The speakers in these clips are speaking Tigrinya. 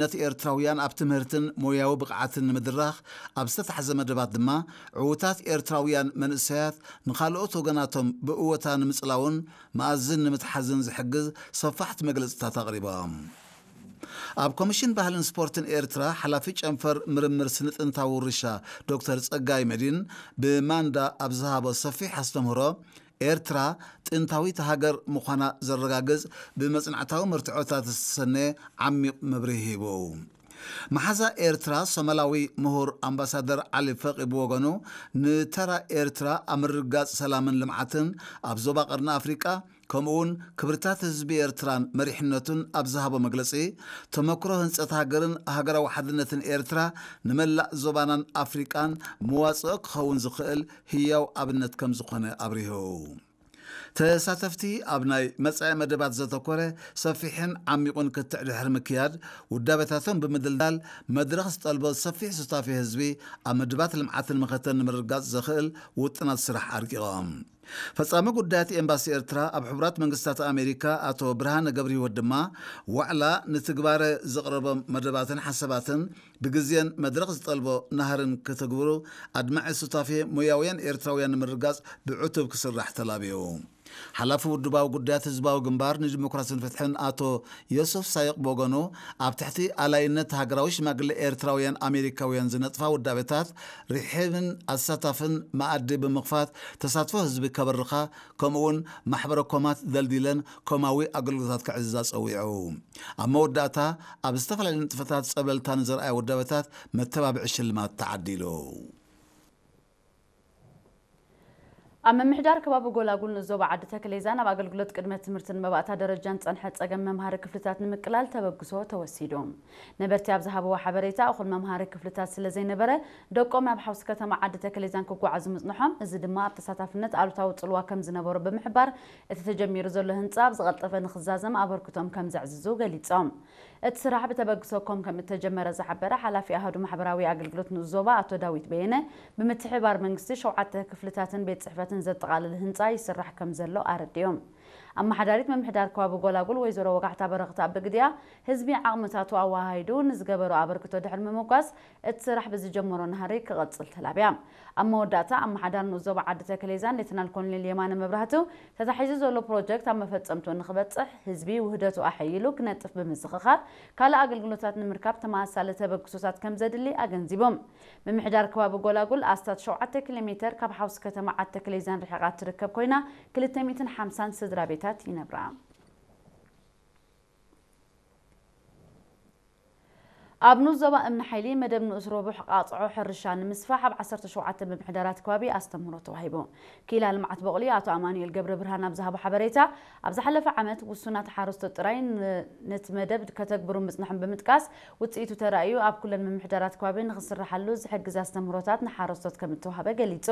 ዕውትነት ኤርትራውያን ኣብ ትምህርትን ሞያዊ ብቕዓትን ንምድራኽ ኣብ ዝተታሕዘ መደባት ድማ፣ ዕዉታት ኤርትራውያን መንእሰያት ንኻልኦት ወገናቶም ብእወታ ንምጽላውን መኣዝን ንምትሓዝን ዝሕግዝ ሰፋሕቲ መግለጽታት ኣቕሪቦም። ኣብ ኮሚሽን ባህልን ስፖርትን ኤርትራ ሓላፊ ጨንፈር ምርምር ስነ ጥንታዊ ውርሻ ዶክተር ጸጋይ መዲን ብማንዳ ኣብ ዝሃቦ ሰፊሕ ኣስተምህሮ፣ ኤርትራ ጥንታዊት ሃገር ምዃና ዘረጋግጽ ብመጽናዕታዊ መርትዖታት ዝተሰነየ ዓሚቕ መብርሂ ሂቡ። መሓዛ ኤርትራ ሶማላዊ ምሁር ኣምባሳደር ዓሊ ፈቒ ብወገኑ፣ ንተራ ኤርትራ ኣብ ምርግጋጽ ሰላምን ልምዓትን ኣብ ዞባ ቀርኒ ኣፍሪቃ፣ ከምኡውን ክብርታት ህዝቢ ኤርትራን መሪሕነቱን ኣብ ዝሃቦ መግለጺ፣ ተመክሮ ህንጸት ሃገርን ሃገራዊ ሓድነትን ኤርትራ ንመላእ ዞባናን ኣፍሪቃን መዋጽኦ ክኸውን ዝኽእል ህያው ኣብነት ከም ዝኾነ ኣብሪሁ። ተሳተፍቲ ኣብ ናይ መጻኢ መደባት ዘተኮረ ሰፊሕን ዓሚቑን ክትዕ ድሕሪ ምክያድ፣ ውዳቤታቶም ብምድልዳል፣ መድረኽ ዝጠልቦ ሰፊሕ ሱታፌ ህዝቢ ኣብ መደባት ልምዓትን መኸተን ንምርግጋጽ ዘኽእል ውጥናት ስራሕ ኣርቂቖም። ፈጻሚ ጉዳያት ኤምባሲ ኤርትራ ኣብ ሕቡራት መንግስታት ኣሜሪካ ኣቶ ብርሃነ ገብረህይወት ድማ፣ ዋዕላ ንትግባረ ዘቕረቦም መደባትን ሓሳባትን ብግዜን መድረኽ ዝጠልቦ ናህርን ክትግብሩ ኣድማዒ ሱታፌ ሞያውያን ኤርትራውያን ንምርጋጽ ብዕቱብ ክስራሕ ተላብዩ። ሓላፊ ውድባዊ ጉዳያት ህዝባዊ ግንባር ንዲሞክራሲን ፍትሕን ኣቶ ዮሱፍ ሳይቕ ብወገኑ፣ ኣብ ትሕቲ ኣላይነት ሃገራዊ ሽማግለ ኤርትራውያን ኣሜሪካውያን ዝነጥፋ ውዳቤታት ርሒብን ኣሳታፍን መኣዲ ብምኽፋት ተሳትፎ ህዝቢ ከበርኻ፣ ከምኡውን ማሕበረ ኮማት ደልዲለን ኮማዊ ኣገልግሎታት ክዕዝዛ ጸዊዑ። ኣብ መወዳእታ፣ ኣብ ዝተፈላለዩ ንጥፈታት ጸብለልታ ንዘርኣያ ውዳቤታት መተባብዒ ሽልማት ተዓዲሉ። ኣብ ምምሕዳር ከባቢ ጎላጉል ንዞባ ዓዲ ተክሌዛን ኣብ ኣገልግሎት ቅድመ ትምህርትን መባእታ ደረጃን ጸንሐ ጸገም መምሃሪ ክፍልታት ንምቅላል ተበግሶ ተወሲዱ። ነበርቲ ኣብ ዝሃብዎ ሓበሬታ፣ እኹል መምሃሪ ክፍልታት ስለ ዘይነበረ፣ ደቆም ናብ ሓውሲ ከተማ ዓዲ ተክሌዛን ክጓዓዙ ምጽንሖም፣ እዚ ድማ ኣብ ተሳታፍነት ኣሉታዊ ጽልዋ ከም ዝነበሮ ብምሕባር፣ እቲ ተጀሚሩ ዘሎ ህንጻ ብዝቐልጠፈ ንኽዛዘም ኣበርክቶም ከም ዘዕዝዙ ገሊጾም። እቲ ስራሕ ብተበግሶ ኮም ከም እተጀመረ ዝሓበረ ሓላፊ ኣሃዱ ማሕበራዊ ኣገልግሎት ንኡስ ዞባ ኣቶ ዳዊት በየነ፣ ብምትሕብባር መንግስቲ ሸውዓተ ክፍልታትን ቤት ጽሕፈትን ዘጠቓልል ህንጻ ይስራሕ ከም ዘሎ ኣረዲኦም። ኣመሓዳሪት ምምሕዳር ከባቢ ጎላጉል ወይዘሮ ወጋሕታ በረኽት ኣብ ብግዲኣ፣ ህዝቢ ዓቕምታቱ ኣወሃሂዱ ንዝገበሮ ኣበርክቶ ድሕሪ ምምጓስ፣ እቲ ስራሕ ብዝጀመሮ ናህሪ ክቕጽል ተላብያ። ኣብ መወዳእታ ኣመሓዳሪ ንኡስ ዞባ ዓዲ ተክሌዛን ሌተናል ኮሎኔል የማነ መብራህቱ፣ ተታሒዙ ዘሎ ፕሮጀክት ኣብ መፈጸምትኡ ንኽበጽሕ ህዝቢ ውህደቱ ኣሐይሉ ክነጥፍ ብምዝኽኻር፣ ካልእ ኣገልግሎታት ንምርካብ ተመሳሳሊ ተበግሶታት ከም ዘድሊ ኣገንዚቦም። ምምሕዳር ከባቢ ጎላጉል ኣስታት ሸውዓተ ኪሎ ሜተር ካብ ሓውሲ ከተማ ዓዲ ተክሌዛን ርሒቓ እትርከብ ኮይና፣ ክልተ ሚእትን ሓምሳን ስድራ ቤታት ይነብራ። ኣብ ንኡስ ዞባ እምኒ ሓይሊ መደብ ንኡስ ረቡሕ ቃጽዖ ሕርሻ ንምስፋሕ ኣብ ዓሰርተ ሸውዓተ ምምሕዳራት ከባቢ ኣስተምህሮ ተዋሂቡ። ክኢላ ልምዓት በቑሊ ኣቶ ኣማኑኤል ገብረ ብርሃን ኣብ ዝሃቦ ሓበሬታ፣ ኣብ ዝሓለፈ ዓመት ውሱናት ሓረስቶት ጥራይ ን-፣ ነቲ መደብ ከተግብሩ ምጽንሖም ብምጥቃስ፣ ውጽኢቱ ተራእዩ ኣብ ኩለን ምምሕዳራት ከባቢ ንኽስርሓሉ ዝሕግዝ ኣስተምህሮታት ንሓረስቶት ከም እተዋህበ ገሊጹ።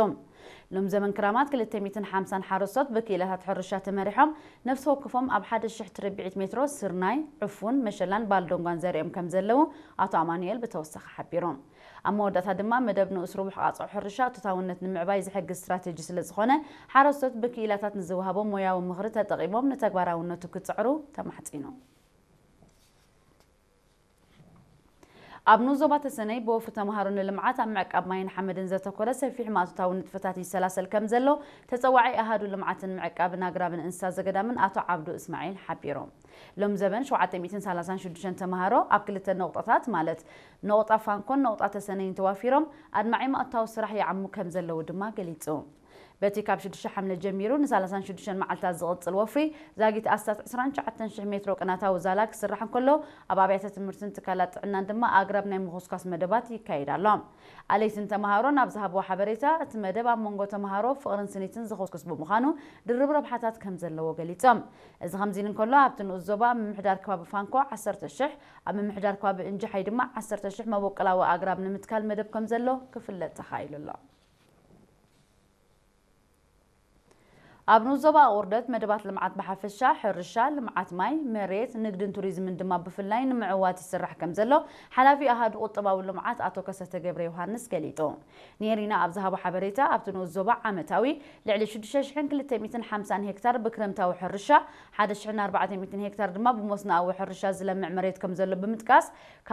ሎም ዘመን ክራማት ክልተ ሚእትን ሓምሳን ሓረስቶት ብክኢላታት ሕርሻ ተመሪሖም፣ ነፍሲ ወከፎም ኣብ ሓደ ሽሕ ትርብዒት ሜትሮ ስርናይ፣ ዕፉን፣ መሸላን ባልዶንጓን ዘሪኦም ከም ዘለዉ ኣቶ ኣማኑኤል ብተወሳኺ ሓቢሩ። ኣብ መወዳእታ ድማ፣ መደብ ንኡስ ርቡሕ ቃጽዖ ሕርሻ እቶታውነት ንምዕባይ ዝሕግዝ ስትራቴጂ ስለ ዝኾነ፣ ሓረስቶት ብክኢላታት ንዝወሃቦም ሞያዊ ምኽሪ ተጠቒሞም ንተግባራውነቱ ክጽዕሩ ተማሕጺኑ። ኣብ ንኡስ ዞባ ተሰነይ ብወፍሪ ተምሃሮ ንልምዓት ኣብ ምዕቃብ ማይን ሓመድን ዘተኮረ ሰፊሕ ማእቶታዊ ንጥፈታት ይሰላሰል ከም ዘሎ ተጸዋዒ ኣሃዱ ልምዓትን ምዕቃብን ኣግራብን እንስሳ ዘገዳምን ኣቶ ዓብዱ እስማዒል ሓቢሮም። ሎም ዘበን ሸውዓተ ሚእትን ሰላሳን ሽዱሽተን ተምሃሮ ኣብ ክልተ ነቑጣታት ማለት ነቑጣ ፋንኮን ነቑጣ ተሰነይን ተዋፊሮም ኣድማዒ ማእቶታዊ ስራሕ ይዓሙ ከም ዘለዉ ድማ ገሊጹ። በቲ ካብ ሽዱሽተ ሓምለ ጀሚሩ ንሰላሳን ሽዱሽተን መዓልታት ዝቕጽል ወፍሪ፣ ዛጊት ኣስታት ዕስራን ትሽዓተን ሽሕ ሜትሮ ቅናታዊ ዛላ ክስራሕ እንከሎ፣ ኣብ ኣብያተ ትምህርትን ትካላት ጥዕናን ድማ ኣግራብ ናይ ምኹስኳስ መደባት ይካየድ ኣሎ። ኣለይትን ተምሃሮን ኣብ ዝሃብዎ ሓበሬታ፣ እቲ መደብ ኣብ መንጎ ተምሃሮ ፍቕርን ስኒትን ዝኹስኩስ ብምዃኑ፣ ድርብ ረብሓታት ከም ዘለዎ ገሊጾም። እዚ ከምዚ ኢሉ እንከሎ፣ ኣብቲ ንኡስ ዞባ ምምሕዳር ከባቢ ፋንኮ ዓሰርተ ሽሕ፣ ኣብ ምምሕዳር ከባቢ እንጅሓይ ድማ ዓሰርተ ሽሕ መበቆላዊ ኣግራብ ንምትካል መደብ ከም ዘሎ ክፍለጥ ተኻኢሉ ኣሎ። ኣብ ንኡስ ዞባ ኣቑርደት መደባት ልምዓት ብሓፈሻ፣ ሕርሻ፣ ልምዓት ማይ፣ መሬት፣ ንግድን ቱሪዝምን ድማ ብፍላይ ንምዕዋት ይስራሕ ከም ዘሎ ሓላፊ ኣሃዱ ቁጠባዊ ልምዓት ኣቶ ከሰተ ገብረ ዮሃንስ ገሊጹ። ኔሪና ኣብ ዝሃቦ ሓበሬታ፣ ኣብቲ ንኡስ ዞባ ዓመታዊ ልዕሊ ሽዱሽተ ሽሕን ክልተ ሚእትን ሓምሳን ሄክታር ብክረምታዊ ሕርሻ፣ ሓደ ሽሕን ኣርባዕተ ሚእትን ሄክታር ድማ ብመስኖኣዊ ሕርሻ ዝለምዕ መሬት ከም ዘሎ ብምጥቃስ፣